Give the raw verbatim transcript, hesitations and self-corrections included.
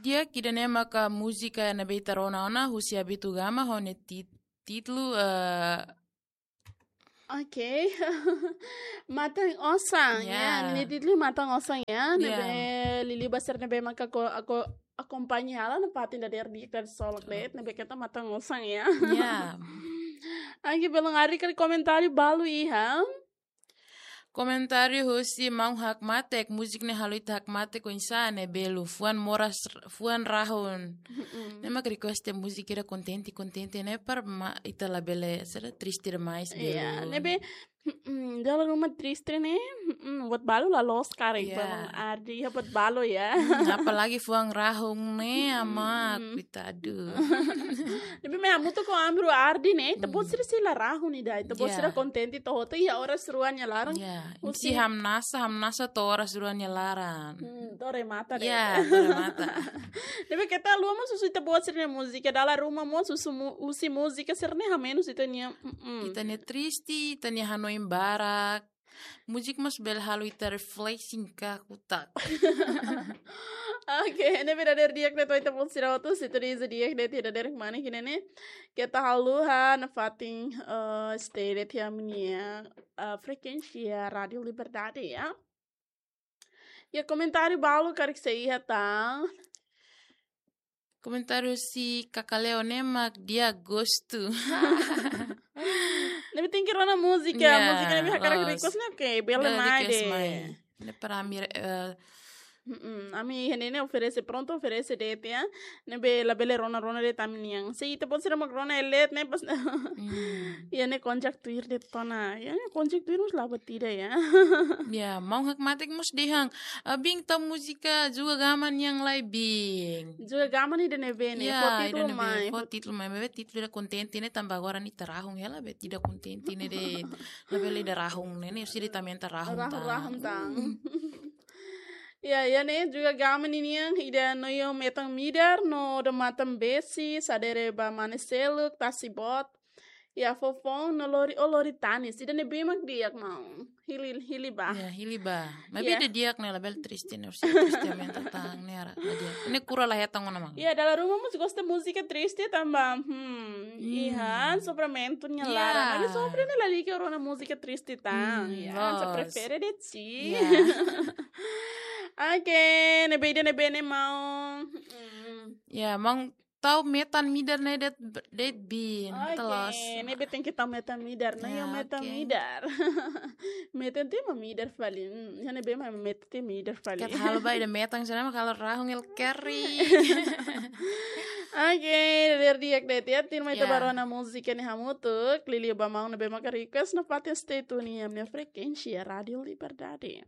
di'ak, ida-ne'e maka múzika ne'ebé ita rona ona husi Abitu Gama ho nia tit-, títulu, eh, Oke. Matan Osan, ya. Ya. Nia títulu Matan Osan, ya. Ya. Ne'ebé liuliu ba sira ne'ebé maka ko-, ako-, akompaña hela nafatin dadeer di'ak, dadeer solok de'it, ne'ebé keta Matan Osan, ya. Ya. Oke, belun, haree karik komentáriu balu iha. Komentáriu husi maun hakmatek, múzika ne'e halo ita hakmatek oinsá ne'e, belu, fuan moras, fuan rahun. Mm-mm. Ne'e mak request múzika ida kontente, kontente ne'e para ma-, ita labele, sira triste demais, ya, belu. Ne'ebé, mm-mm, dala ruma triste ne'e, mm-mm, buat balu la loos karik, ya, belun, Ardi, ya, buat balu, ya. Hmm, apalagi fuan rahun ne'e, amak, mm-mm, koitadu. Ne'ebé imi hamutuk ho ami rua, Ardi, ne'e, ita-boot, hmm, sira sei la rahun ida, ita-boot, ya, sira kontente to'o hotu iha oras rua nia laran. Ya, husi, imi sei hamnasa, hamnasa to'o oras rua nia laran. Hmm, to'o remata de'it. Ya, to'o remata. Ne'ebé keta haluha mós husu ita-boot sira-nia múzika, dala ruma mós husu mu-, husi múzika sira-ne'e hamenus ita-nia, mm-mm, ita-nia triste, ita-nia hanoin barak. Múzika mós bele halo ita refleksi ka kutak. Oke, ne'ebé dadeer di'ak de'it ba ita-boot sira hotu, se tuir iha di'ak de'it, dadeer mane kine ne'e. Keta haluha nafatin, eh, stay de'it iha ami-nia, eh, frekuénsia Rádiu Liberdade, ya. Ya, komentáriu balu karik sei iha tan. Komentáriu husi Kakaleo ne'e mak di'ak, gostu. Ne'ebé tenke rona múzika, ya, múzika ne'ebé hakarak, loos, request ne'e, oke, bele, bele mai request de'it. Mai. Ne'e para ami, eh, mm-mm, ami iha ne'e ne'e oferese, prontu oferese de'it, ya. Ne'ebé labele rona-rona de'it ami-nian. Se ita-boot sira mak rona, eh, leet ne'e pas. Hmm. Ya, ne'e konjak tuir de'it ona. Ya, ne'e konjak tuir mós la buat ida, ya. Ya, maun hakmatek mós dehan, ah, Bin, tau múzika Juga Gama nian lai, Bin. Juga Gama ne'e ida ne'ebé ne'e? Ya, fó títulu, ida ne'ebé mai, fó, fó títulu mai. Maibé títulu ida kontente ne'e, tanba agora ne'e ita rahun hela, be, ida kontente ne'e de'it. Labele ida rahun ne'e, ne'e sira ita aumenta rahun, rahun tan. Rahun tan. Mm. Ya, ya, ne'e Juga Gama ninian, ida Noio Metan Midar, no Odamatan Besi, Sadere ba Mane Seluk, Tasi Boot, ya, Fofon, no Lori, oh, Lori Tanis. Ida ne'ebé mak di'ak, maun? Hili, hili ba. Ya, hili ba. Maibé, ya, ida di'ak ne'e, labele triste ne'e, orsida triste aumenta tan ne'e, ara, la di'ak. Ne'e kura la hetan ona, maun. Ya, dala ruma mós gosta múzika triste tanba, hmm, hmm, iha sofrimentu nia, ya, laran. Maibé sofre ne'e lalika rona múzika triste tan. Hmm, ya, loos. Só prefere de'it. Ya. Oke, ne'ebé ida ne'ebé ne'e, maun. Hmm. Ya, maun, tau Metan Midar ne'e de'it, de'it, Bin. Oke, loos. Ne'ebé tenke tau Metan Midar, Noio, ya, Metan, oke, Midar. Metan tiha mak midar fali. Hmm, ya, ne'ebé mak metan tiha mak midar fali. Keta halo ba ida metan sira mak halo rahun el keri. Oke, dadeer di'ak de'it, ya, tuirmai ita, ya, bá rona múzika ne'e hamutuk. Liuliu ba maun ne'ebé maka request, nafatin stay tune iha ami-nia frekuénsia Rádiu Liberdade.